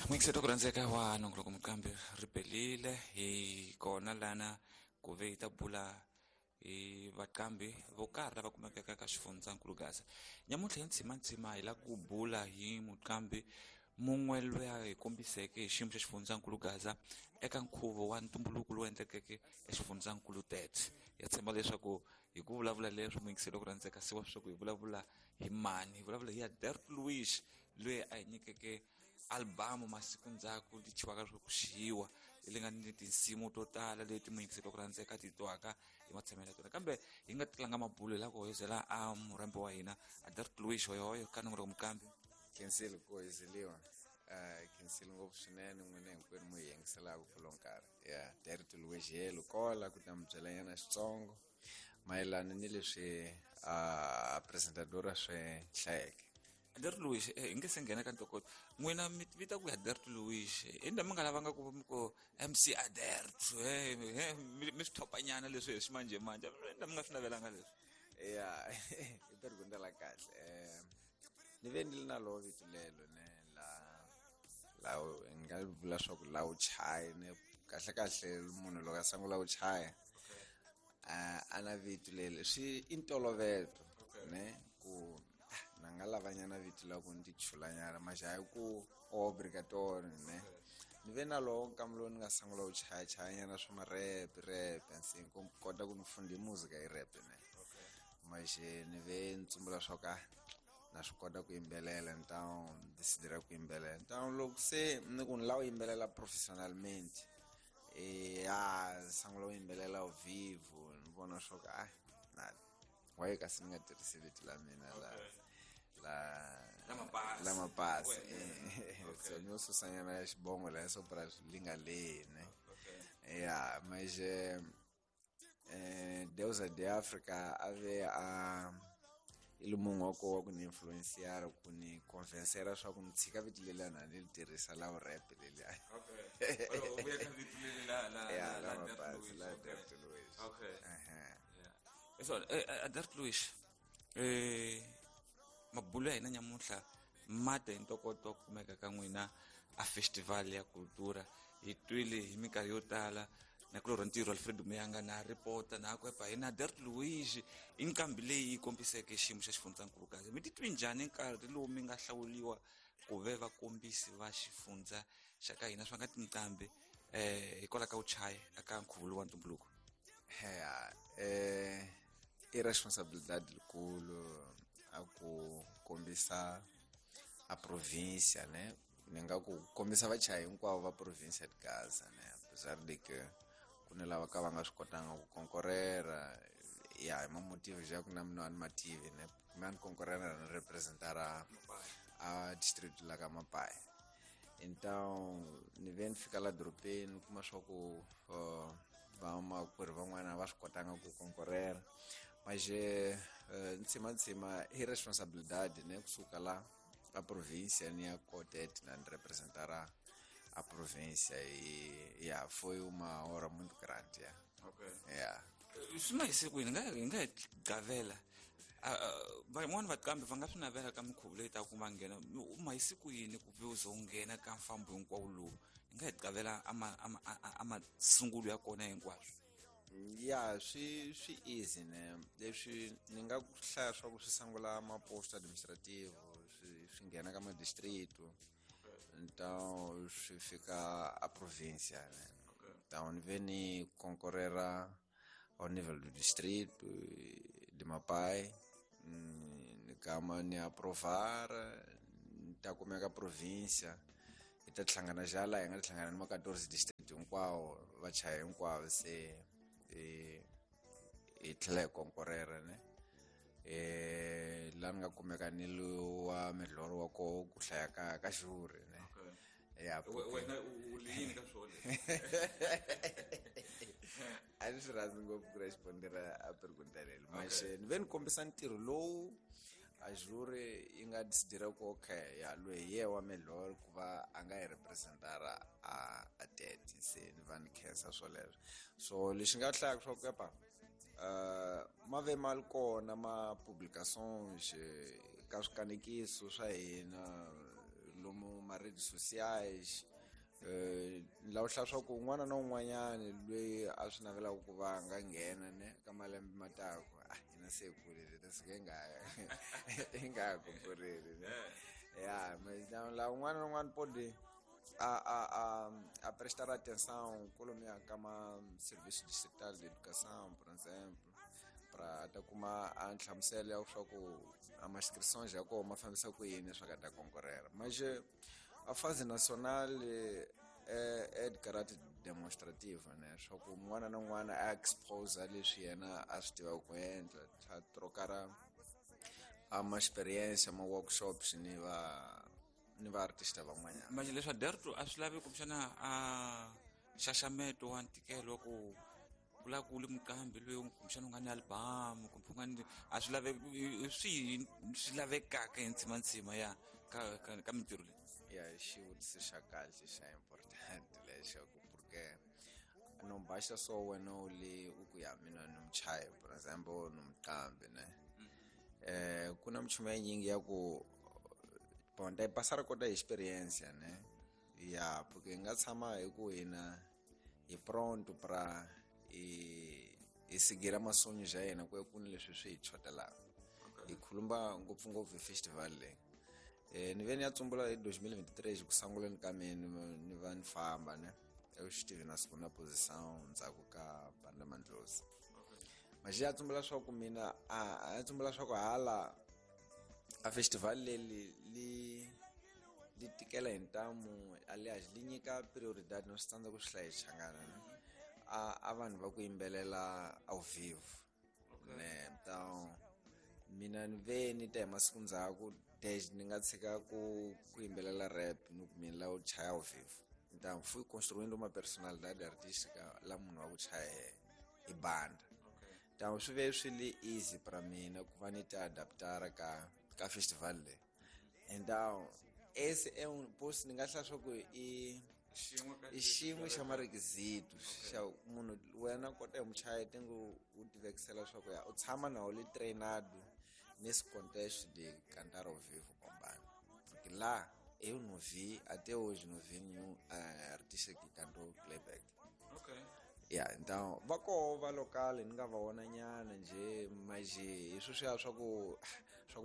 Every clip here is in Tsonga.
N'wingiseti ku rhandzeka wa nongoloko muqambi ri pelile hi kona lana ku ve hi ta bula hi vaqambi vo karhi lava kumekaka ka xifundzankulu Gaza. Nyamuntlha hi ntsimantsima hi lava ku bula hi muqambi mun'we loyi a hi kombiseke hi xiyimo xa xifundzankulu Gaza eka nkhuvo wa ntumbuluko lowu endlekeke exifundzankulu Tete. Ya tshemba leswaku hi ku vulavula leswo muyingiseli ku rhandzeka siwa leswaku hi vulavula hi mani, hi vulavula hi Adert Louis loyi a hi nyikeke albamu masiku ndzhaku li chiwaka swa ku xiyiwa leyi nga ni tinsimu to tala leti muyingiseli ku rhandzeka ti twaka hi matshamelo ya tona. Kambe hi nga tlanga mabulo hi lava ku hoyozela a murhambi wa hina Adert Louis hoyohoyo ka nongoloko muqambi. Khensile ku hoyozeliwa, khensile ngopfu swinene n'wina hinkwenu mu hi yingiselaka kulo nkarhi. Ya Dert Louis helo kola ku ta mi byela nyana xitsongo mayelana ni leswi a presentadora swi hlayeke. Adert Louis, hi nge se nghena ka ntokoto n'wina mi vita ku ya Adert Louis i ndha mi nga lavanga ku mi ku MC Adert mi swi thopanyana leswi hi ximanjhemanjhe i ndha mi nga swi navelanga leswi? Ya i pergunta la kahle. Ni ve ni ri na lowo vito lelo ne la la ni nga vula swa ku la wu chayi ne kahle kahle munhu loko a sungula ku chaya a na vito leli swi i ntolovelo ne ku na nga lavanyana vito la ku ni ti chulanyana maxa hayi ku obrigatorio ne. Ni ve na lowo nkama lowu ni nga sungula ku chayachayanyana swa ma-rap rap nsi ku kota ku ni funda muzika hi rap ne. Maxe ni ve ni tsumbula swa ku na swi kota ku yimbelela ni ta decidira ku yimbelela. Então loko se ni ku ni lava ku yimbelela professionalmente ya sungula ku yimbelela ao vivo ni vona swa ku na why kasi ni nga tirhisi vito la mina la la la mapasi. So ni yo susanyana ya xibongo la so pra li nga lehi ne. Ya mas Deusa de Africa a ve a i le munhu wa koho wa ku ni influenciar ku ni convencera swa ku ni tshika vito leliya na ni li tirhisa la rap leliya. Ya la mapasi la Dert Louis. So Adert Louis, mabulo ya hina nyamuntlha ma ta hi ntokoto wa ku kumeka ka n'wina a festival ya cultura. Hi twile hi minkarhi yo tala na kulorha ntirho Alfred Muyanga na ripota na ku epa hina Adert Louis i nqambi leyi yi kombiseke xiyimo xa xifundzankulu kahle. Mi titwi njhani nkarhi lowu mi nga hlawuriwa ku ve vakombisi va xifundza xa ka hina swa nga tinqambi hikwalaho ka vuchayi eka nkhuvo lowu wa ntumbuluko? Ya i responsabilidade likulu a ku kombisa a província ne. Ni nga ku kombisa vachayi hinkwavo va província de Gaza ne, apesar de que ku ni lava ka va nga swi kotanga ku konkorera ya hi mamotivo ja ku na mina a ni mativi ne, mina ni konkorera ni representara a district la ka Mapaya. Então ni ve ni fika la dorobeni ni kuma swa ku vamakwerhu van'wana va swi kotanga ku konkorera. Mas ntsimantsima i responsabilidade ne kusuka la a província ni ya Cotet na ni representara a província e ya foi uma hora muito grande ya. Ya swi ma hise kwini nga hi nga hi gavela van'wani vaqambi va nga swi navela ka minkhuvo leyi taka ku va nghena u ma hise kwini ku ve u ze u nghena ka mfambo hinkwawo lowu hi nga hi gavela a masungulo ya kona hinkwaswo? Ya swi swi easy ne, leswi ni nga ku hlaya swa ku swi sungula ma-post administrativo swi swi nghena ka ma-district, então swi fika a província ne. Então ni ve ni konkorera ao nível do distrito de Mapai, ni gama ni aprovar ni ta kumeka província hi ta hlangana ja laha hi nga hlangana ni ma 14 district hinkwawo vachayi hinkwavo se hi tlhela hi konkorera ne. La ni nga kumeka ni wa milhoro wa koho ku hlaya ka ka xuri ne. Ya wena u yini ka swona? A ni swi rhandzi ngopfu ku respondera a pergunta leli, mas ni ve ni kombisa ntirho lowu a juri yi nga decidira ku okay ya loyi hi ye wa milhoro ku va a nga hi representara a tete se ni va ni khensa swoleswo. So lexi nga hlayaka swa ku epa ma ve ma ri kona ma publications ka swikanekiso swa hina lomu ma ma-redes sociais. Ni lava ku hlaya swa ku un'wana na un'wanyani loyi a swi navelaka ku va a nga nghena ne ka malembe ma taku, ah, hina se hi kurile ta suka hi nga ha konkoreli ne. Ya, la un'wana na un'wana pode a prestar atenção kolomiya ka ma serviço distrital de educação, por exemplo, para ta kuma a nhlamuselo ya swa ku a ma inscrições ya kona ma fambisa ku yini swa ka ta konkorela. Mas a fase nacional é de caráter demonstrativo, né, swa ku un'wana na un'wana a expose leswi yena a swi tivaka ku endla, tlha trocar a ma experience, ma workshops ni va artista van'wanyana. Manje leswa Derto a swi lavi kumbexana a nxaxameto wa ntikelo wa ku ku lava ku ri muqambi loyi kumbexana u nga ni album kumbe u nga ni, a swi laveki? Hi swihi swi lavekaka hi ntsimantsima ya ka mintirho leyi? Ya, xivutiso xa kahle, xa important lexaku, porque não basta só wena u le u ku ya mina ni muchayi, por exemple, ni muqambi ne. Ku na minchumu ya nyingi ya ku, bon, ta yi passar kota hi experiência ne. Ya, porque hi nga tshama hi ku hina hi pronto pra hi seguir masonhos ya hina ku ya ku ni leswi swi hi chotelaka. Hi khuluma ngopfungopfu hi festival leyi. Ni ve ni ya tsumbula hi 2023 ku sunguleni ka mina ni va ni famba ne, eu estive na segunda posição ndzhaku ka Banda Mandlozi. Mas ya tsumbula swa ku mina a tsumbula swa ku hala a festival leri li tikela hi ntamu, aliás li nyika prioridade, no swi tsandza ku swi hlaya hi Xichangana ne, a vanhu va ku yimbelela ao vivo ne. Então mina ni ve ni ta hi masiku ndzhaku desde ni nga tshika ku yimbelela rap, ni ku mina la u chaya ao vivo. Então fui construindo uma personalidade artística la munhu wa ku chaya hi banda. Então swi ve swi li easy para mina ku va ni ti adaptar ka festival leyi. Então esse é um post ni nga hlaya swa ku i xin'we xa marequisito xa munhu wena kota hi muchayi tingu u tivekisela swa ku ya u tshama na le treinado nesse contexto de cantar ao vivo com banda, porque lá eu não vi até hoje, não vi nenhum artista que cantou playback. Ya, então va koho va local ni nga va vona nyana njhe, mas hi sweswiya swa ku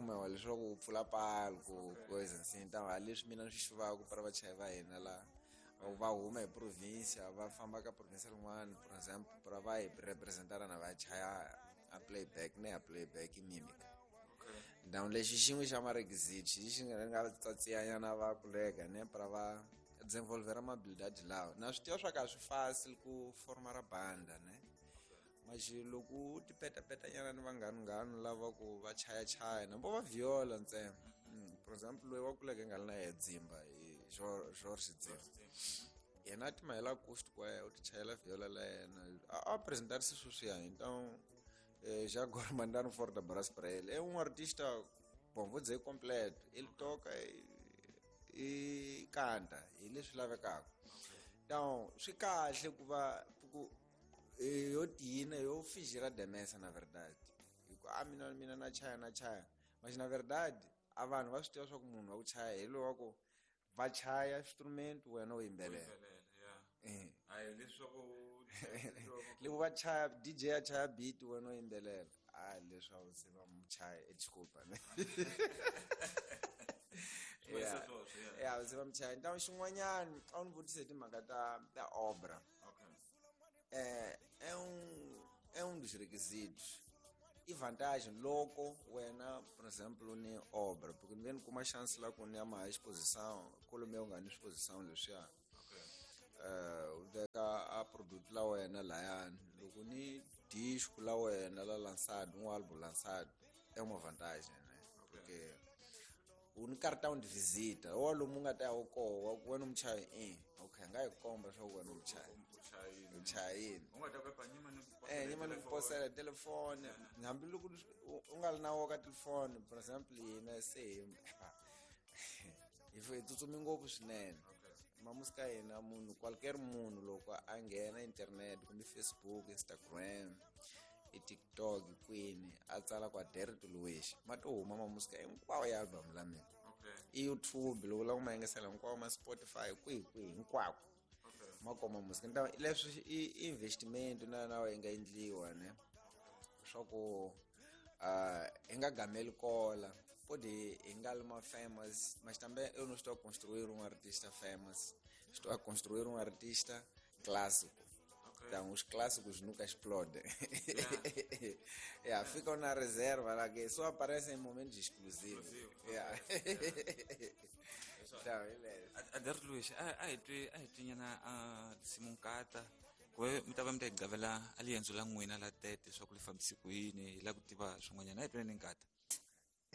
mewa leswaku u pfula palco, coisa assim. Então a leswi mina ni swi xivaka para vachayi va hina la va huma hi provincia, va famba ka provincia rin'wana, por exemple, para va hi representana na va chaya a playback ne, a playback i mímica. Então lexi xin'we xa marequisito xi nga tsatsiyanyana va colega ne para va desenvolver uma habilidade lawa. Na swi tiva swa ka swi fácil ku formar a banda ne, mas loko u ti petapetanyana ni vanghanu lava ku va chayachaya na vo va viola ntsena. Por exemple, loyi wa kuleke nga ri na yehe Dzimba, hi George Dzimba, yena a ti mahela acoustic wa yena, u ti chayela viola la yena, a apresentarise sweswiya. Então já agora mandaram um forte abraço para ele. É um artista, bom, vou dizer completo. Ele toca e canta, hi leswi lavekaka. Então swi kahle ku va ku yo tina yo fingir a demência, na verdade, hi ku a mina na chaya na chaya, mas na verdade a vanhu va swi tiva swa ku munhu wa ku chaya hi loyi wa ku va chaya instrument, wena u yimbelela. Loko va chaya, DJ a chaya beat, wena u yimbelela, a leswaku se va muchaya, desculpa ne, ya se va muchaya. Então xin'wanyana a wu ni vutise hi timhaka ta obra. É um dos requisitos i vantagem loko wena, por exemplo, ni obra, porque ni ve ni kuma chance la ku ni ya maha exposição kolomiya, u nga ni exposição leswiya, u veka a produto la wena layani, loko ni disco la wena la lançado, um álbum lançado, é uma vantagem né, porque u ni cartão de visita wa lomu nga ta ya wu koho wa ku wena muchayi i okay, nga hi komba swa ku wena muchayi u chayini. Nyima ni ku posela telefoni, hambiloko u nga ri na wo ka telefoni. Por exemple, hina se hi tsutsumi ngopfu swinene mamusika hina, munhu qualquer munhu loko a nghena internet kumbe Facebook, Instagram, i TikTok, kwini, a tsala kwa Derto Luiz, ma to huma mamusika hinkwawo ya album la mina. I YouTube loko u lava ku ma yingisela hinkwawo ma Spotify kwihi kwihi hinkwako ma koma music. Leswi i investment na na yi nga endliwa ne swa ku hi nga gameli kola pode hi nga li ma famous, mas também eu não estou a construir um artista famous, estou a construir um artista clássico. Então os clássicos nunca explodem. Yeah, ficam na reserva lá que só aparecem em momentos exclusivos. Yeah. Então, beleza. Adelto Luiz, a hi twi nyana a tinsimu nkata ku ve mi ta va mi ta yi gavela a liendzo la n'wina la tete swa ku li fambisi ku yini hi lava ku tiva swin'wanyana. A hi tweni nkata.